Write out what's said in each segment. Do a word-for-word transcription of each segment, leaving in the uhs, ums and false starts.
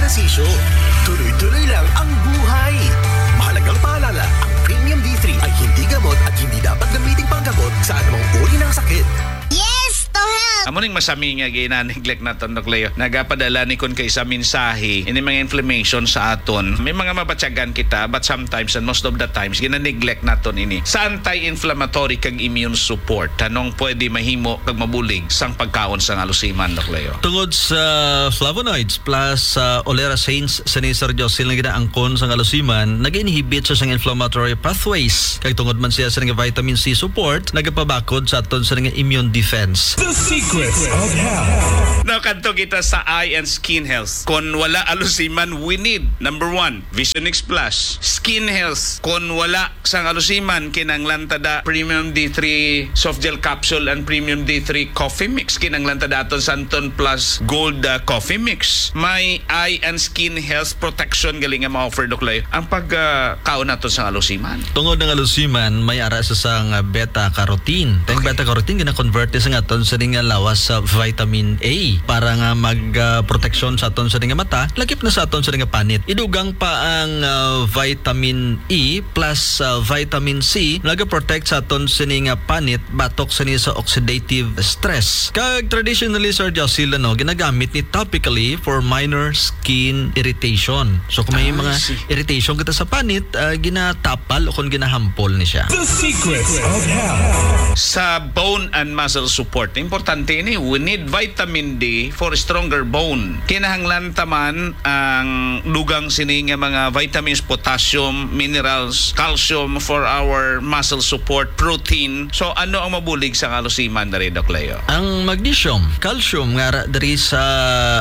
Sisyo. Tuloy-tuloy lang ang buhay. Mahalagang paalala, ang Premium D three ay hindi gamot at hindi dapat gamiting panggamot sa anumang uri ng sakit. Yes to health! Amo ning masami nga gina-neglect naton, Doc Leo. Nagapadala ni kun kay sa mensahe, ini mga inflammation sa aton. May mga mabatyagan kita, but sometimes and most of the times, gina-neglect naton ini. Sa anti-inflammatory kag immune support, anong pwede mahimo kag mabulig sang pagkaon sang alusiman, Doc Leo? Tungod sa flavonoids plus sa olerasanes sa ni Sir Jocelyn nga ginaangkon sang alusiman, nag-inhibit siya sang inflammatory pathways. Kag tungod man siya sa nga vitamin C support, nagapabakod sa aton sa nga immune defense. The Secrets of Health. Now, kadto kita sa eye and skin health. Kon wala alusiman, we need, number one, Vision X Plus. Skin health. Kon wala sang alusiman, kinanglan ta da Premium D three soft gel capsule and Premium D three coffee mix. Kinanglan ta da aton Santon Plus Gold, ah, coffee mix. May eye and skin health protection gali nga ma-offer, Doc Leo, ang pagkaon naton sang alusiman. Tungod ng alusiman, may ara sa sang beta carotene. Ang beta carotene gina-convert sa aton sa nga lawas sa vitamin A para nga mag ah, proteksyon sa aton sa nga mata, lakip na sa aton sa nga panit. Idugang pa ang ah, vitamin E plus ah, vitamin C nagaprotect sa aton sa nga panit batok sa sa oxidative stress. Kag traditionally, Sir Jocelyn, no, ginagamit ni topically for minor skin irritation. So kung may Ah, I mga see. irritation kita sa panit, ah, ginatapal o kung ginahampol ni siya. The Secrets of Health. Sa bone and muscle support, importante ini. We need vitamin D for stronger bone. Kinahanglan ta man ang dugang sini nga mga vitamins, potassium, minerals, calcium for our muscle support, protein. So, ano ang mabulig sa alusiman diri, Doc Leo? Ang magnesium, calcium nga ara diri sa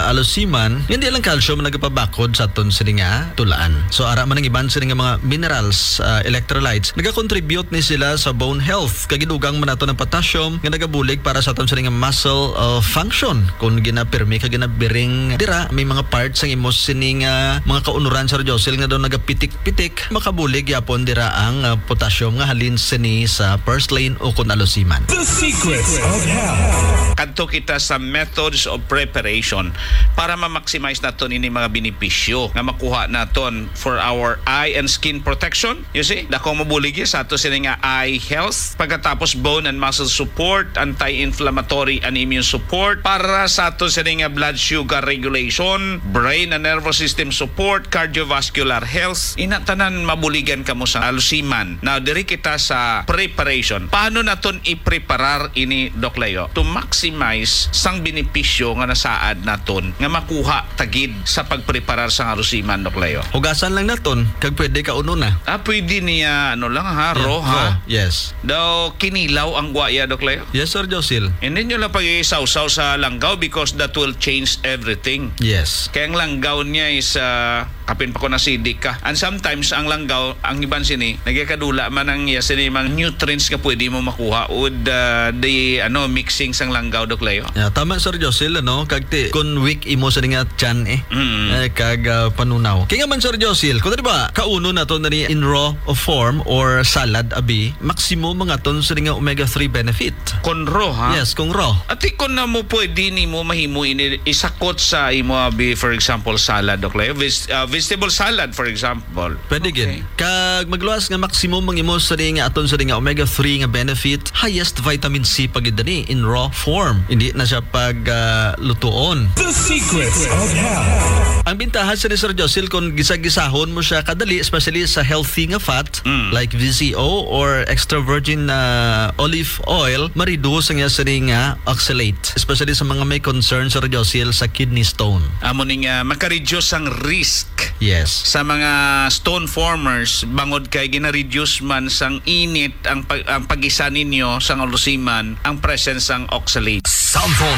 alusiman, hindi lang calcium ang nagapabakod sa aton sini nga tulaan. So ara man ang iban sini nga mga minerals, ah, electrolytes, nagakontribute ni sila sa bone health. Kag idugang man nato ang potassium nga nagabulig para sa aton sini nga muscle ah, function. Kung ginapirmi ka ginabiring dira, may mga parts ang imo sini nga mga kaunuran, Sir Jocelyn, nga daw nagapitik-pitik, makabulig yapon dira ang ah, potassium nga halin sini sa purslane o kun alusiman. The Secrets of Health. Kadto kita sa methods of preparation para ma-maximize naton ini mga benepisyo nga makuha naton for our eye and skin protection. You see, dako mabulig sa ato sini nga eye health. Pagkatapos, bone and muscle support, anti-inflammatory and immune support, para sa ato sini nga blood sugar regulation, brain and nervous system support, cardiovascular health. Ina tanan mabuligan kamo sa alusiman. Now, diri kita sa preparation. Paano naton i-preparar ini, Doc Leo, to maximize sang benepisyo nga nasaad naton nga makuha tagid sa pagpreparar sang alusiman, Doc Leo? Hugasan lang naton kag pwede kaunon na. Ah, pwede niya, ano lang ha, Yeah, raw ha? Yes. Daw kinilaw ang guaya, Doc Leo? Yes, Sir Josil. Hindi nyo lang pag-isawsaw sa langgaw because that will change everything. Yes. Kaya ang langgaw niya is, ah, kapin pa ko na sidik ka. And sometimes, ang langgaw, ang iban sini, nagkakadula man ang iya sini mga nutrients nga pwede mo makuha with ah, the ano mixing sang langgaw, Doc Leo. Yeah, tama, Sir Josil, ano? Kag ti, kun weak imo sa nga tiyan eh. Mm. Eh, kag ah, panunaw. Kaya man, Sir Josil, kung di ba, kaunon nato na ni in raw form or salad, abi, maximum mga ton sa nga omega three benefit. Kon raw, ha? Yes, kung raw. Ati, kung na mo pwede ni mo mahimo ini isakot sa imo abi, for example, salad, Doc Leo. Ves- ah, vegetable salad, for example. Pwede Okay. gid. Kag magluwas nga maximum ang imo sa nga aton sa nga omega three nga benefit, highest vitamin C pa gid ni in raw form. Hindi na siya pag ah, lutuon. The Secrets of Health. Ang bintaha sa ni Sir Josil kung gisa-gisahon mo siya kadali, especially sa healthy nga fat, Mm. like V C O or extra virgin na olive oil, ma-reduce ang iya sa nga oxalate, especially sa mga may concern, Sir Josil, sa kidney stone. Amo ning ah, makareduce ang risk Yes. sa mga stone formers bangod kay gina-reduce man sang init ang pag ang pag-isa ninyo sang alusiman ang presence sang oxalate. Sample